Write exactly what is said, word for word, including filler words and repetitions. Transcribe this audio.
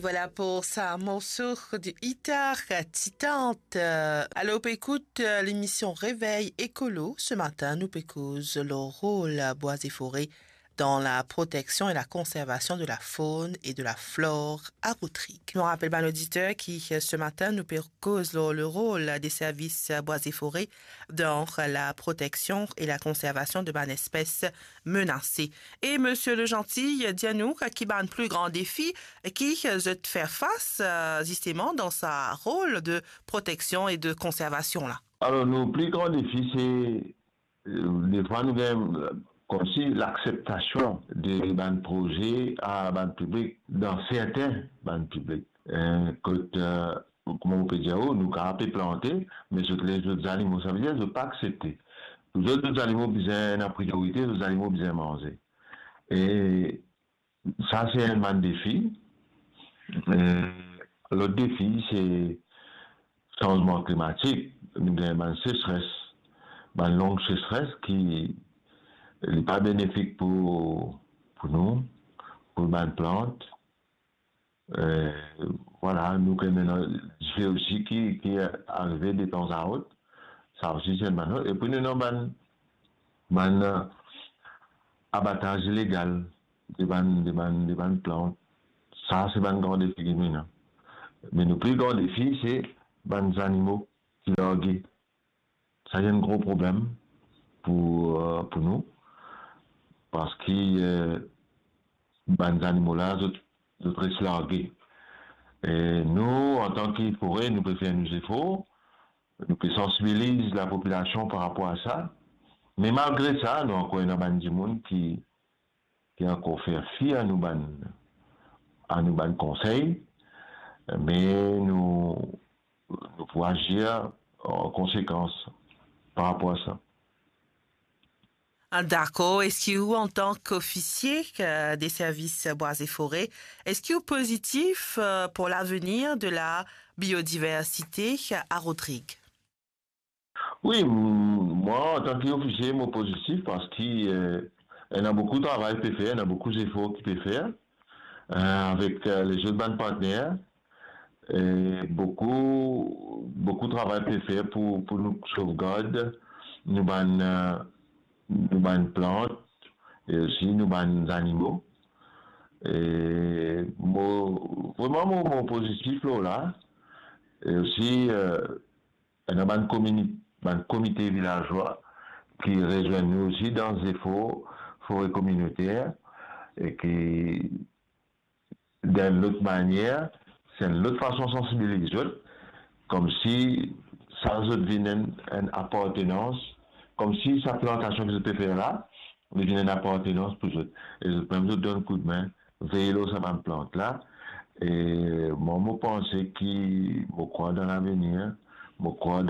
Voilà pour ce morceau du Itar Titant. Euh, alors, on peut écouter euh, l'émission Réveil Écolo. Ce matin, nous peut cause le rôle à bois et forêts dans la protection et la conservation de la faune et de la flore à Rodrigues. Nou rapel bann oditer ki, euh, ce matin, nou pe koz lor le rôle des services bois et forêts dans la protection et la conservation de bann espèces menacées. E Monsieur Le Gentil, dir nou ki bann pli gran defi ki zot fer fas, euh, zisteman dan sa rol de proteksion e de konservasion la. Alor, nou pli gran defi, se, euh, defwa nou gagn, euh, koumsi lakseptasion de bann proze a bann piblik, dan sertin bann piblik. Euh, kot, euh, kouma mo pe dir ou, nou kapav pe plante, me zot les zot zanimo, savedir zot pa aksepte. Pou zot, zot zanimo bizin ena priyorite, zot zanimo bizin manze. E sa, se enn bann defi. Euh, lot defi, se sanzman klimatik. Nou gagn bann sesres, bann long sesres ki li pa benefik pou, pou nou, pou bann plant. Euh, vwala, nou gagn ena dife osi ki, ki arive de tanzantan. Sa osi, se enn bann. Epi nou ena bann, bann, euh, abataz ilegal de bann, de bann, de bann plant. Sa, se bann gran defi ki nou ena. Me nou pli gran defi, se bann zanimo ki large. Sa, se enn gro problem pou, euh, pou nou, parski, euh, bann zanimo la, zot, zot res large. E nou, antan ki fore, nou pe fer nou zefor, nou pe sansibiliz lapopilasion par rapor a sa. Me malgre sa, nou ankor ena bann dimoun ki, ki ankor fer fi a nou bann, a nou bann konsey, me nou, nou pou azir an konsekans par rapor a sa. Ah, dakor. Eski ou, antan ki ofisie, euh, des services bois et forêts, eski ou pozitif, euh, pour l'avenir de la biodiversité à Rodrigues? Wi, m-, mwa, antan ki ofisie, mo pozitif parski, euh, ena boukou travay pe fer, ena boukou zefor ki pe fer, euh, avek, euh, lezot bann partner. E boukou, boukou travay pe fer pou, pou nou sovgard nou bann, euh, nou bann plant e osi nou bann zanimo. E mo, vreman, mo, mo pozitif lor la. E osi, euh, ena bann komini-, bann komite vilazwa ki rezwenn nou osi dan zefor fore kominoter e ki, dan lot manier, se enn lot fason sansibiliz zot, koumsi sa zot vinn enn, enn apartenans, koumsi sa plantasion ki zot pe fer la, li vinn enn apartenans pou zot. E zot mem zot donn koudme, vey lor sa bann plant la. E mwa, mo panse ki mo krwar dan lavenir, mo krwar dan